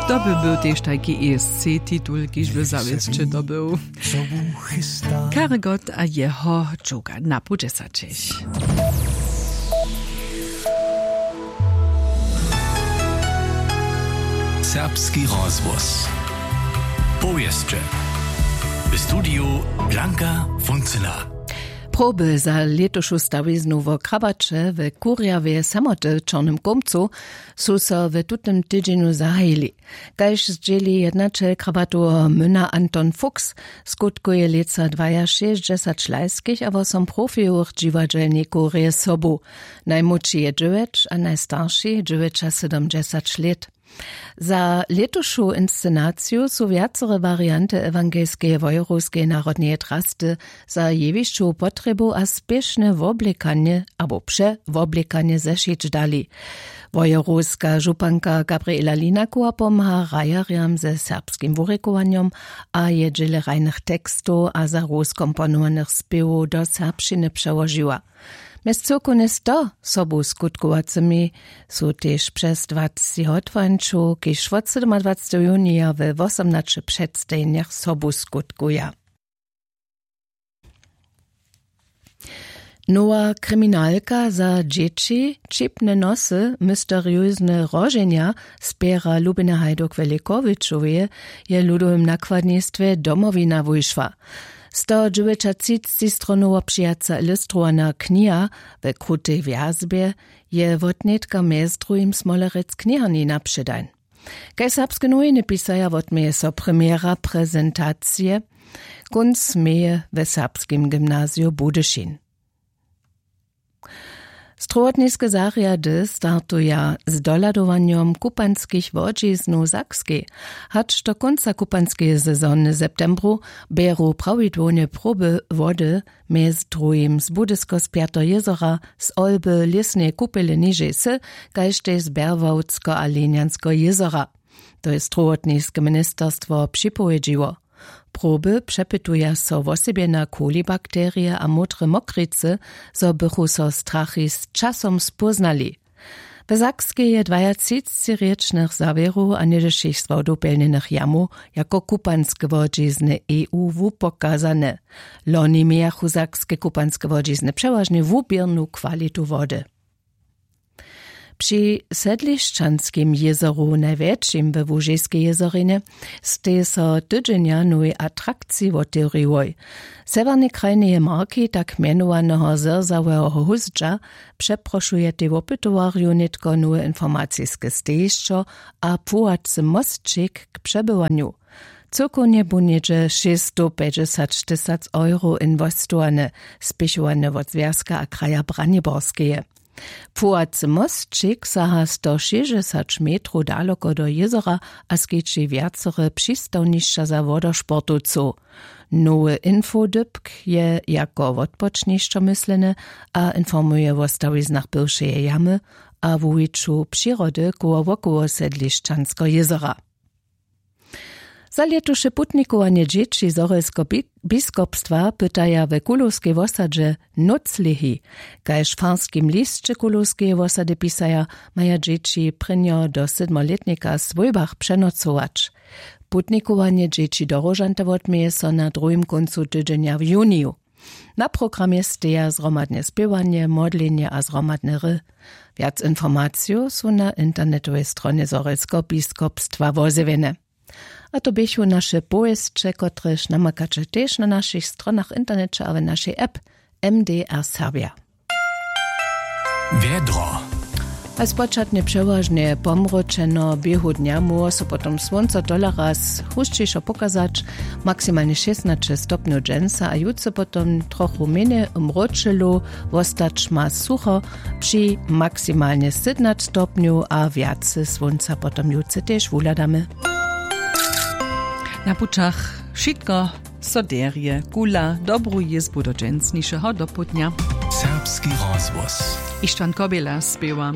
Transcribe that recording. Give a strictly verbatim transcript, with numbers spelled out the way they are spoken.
To by był tež tajki E S C titul, kiž by zawěsće to był. Karegot a jeho dźuka na pół dźesaćich. Serbski rozhłos. Powěsće. W studiju Blanka Funcyna. Proby za lětušu stawiznu wo krabaće w kurjawje samoty w čornym kołmcu su so w tutym tydźenju zahajili. Kaž zdźěli jednaćel krabatoweho myna Anton Fuchs, skutkuje lětsa dwajašěsćdźesać lajskich a wosom profijowych dźiwadźelnikow rje sobu. Najmłódši je dźewjeć a najstarši dźewjećasydomdźesać lět. Za lětušu inscenaciju su wjacore warianty ewangelskeje wojerowskeje narodneje drasty za jewišćowu potrjebu a spěšne woblekanje abo přewoblekanje zešić dali. Wojerowska županka Gabriela Linakowa pomha hrajerjam ze serbskim wurěkowanjom a je dźěle hrajnych tekstow a za hroz komponowanych spěwow do serbšćiny přełožiła. Mjez cyłkownje sto sobuskutkowacymi su tež přez dwacci hotwańćow, kiž wot sydomadwacteho junija we wosomnaće předstajenjach sobuskutkuja. Nowa kriminalka za dźěći, ćipne nosy, mysteriozne roženja, spěra Lubiny Hajduk w Lěkowičowje, je w ludowym nakładnistwje Domowina wušła. Sto dźewjećatřicci stronowo přijaca ilustrowana kniha we krutej wjazbje je wotnětka mjez druhim Smolerec kniharni na předań. Kaž Serbske nowiny pisaja, wotměje so premjera prezentacije kónc meje we Serbskim gymnaziju Budyšin. Strowotniske zarjady startuja z dohladowanjom kupanskich łodźiznow w Sakskej. Hač do kónca kupanskeje sezony w septembru bjeru prawidłownje proby wody, mjez druhim z Budyskospjateho jězora, z Olby, lěsneje kupele nižej wsy, kaž tež z Berwałtsko a Lenjanskeho jězora. To je strowotniske ministerstwo připowědźiło. Proby přepytuja so wosebje na kolibakterije a módre mokricy, zo bychu so strachi z časom spóznali. W Sakskej je dwajatřicćirěčnych zawěrow a něhdyšich słodopjelnjenych jamow jako kupanske łodźizny E U wupokazane. Loni mějachu sakske kupanske łodźizny přewažnje wuběrnu kwalitu wody. Při Sedlišćanskim jězoru, najwjetšim we Łužiskej jězorinje, stej so tydźenja nowej atrakciji wotewriłoj. W sewjernej krajneje marki tak mjenowaneho zrzaweho hózdźa přeprošujetej wopytowarjow nětko nowe informaciske stejišćo a płuwacy mosćik k přebywanju. Cyłkownje bu něhdźe šěsćstowpjećdźesać tysac euro inwestowane, spěchowane wot Zwjazka a kraja Braniborskeje. Płuwacy mosćik saha sto šěsćdźesać metrow daloko do jězora a skeći wjacore přistawnišća za wodosportowcow. Nowy infodypk je jako wotpočnišćo mysleny a informuje wo stawiznach bywšeje jamy a wuwiću přirody koło wokoło Sedlišćanskeho jězora. Za lětuše putnikowanje dźěći Zhorjelskeho bi-, biskopstwa pytaja we Kulowskej wosadźe nóclěhi. Kaž w farskim lisće Kulowskeje wosady pisaja, maja dźěći prěnjo do sydmolětnika w swójbach přenocować. Putnikowanje dźěći do Róžanta wotměje so na druhim kóncu tydźenja w juniju. Na programje steja zhromadne spěwanje, modlenje a zhromadne hry. Wjac informacijow su na internetowej stronje Zhorjelskeho biskopstwa wozjewjene. A to běchu naše powěsće, kotrež namakaće tež na našich stronach w interneće a w našej app M D R Serbja. Wjedro. A spočatnje přewažnje pomróčeno, běhu dnja móhło so potom słónco tola raz husćišo pokazać, maksimalnje šěsnaće stopnjow dźensa a jutře potom trochu mjenje mróčelu, wostać ma sucho při maksimalnje sydomnaće stopnjow a wjace słónca potom jutře tež wuhladamy. Na pućach wšitko so derje, kula, dobru jězbu do dźensnišeho dopołdnja. Serbski rozhłos. Ištwan Kobjela spěwa.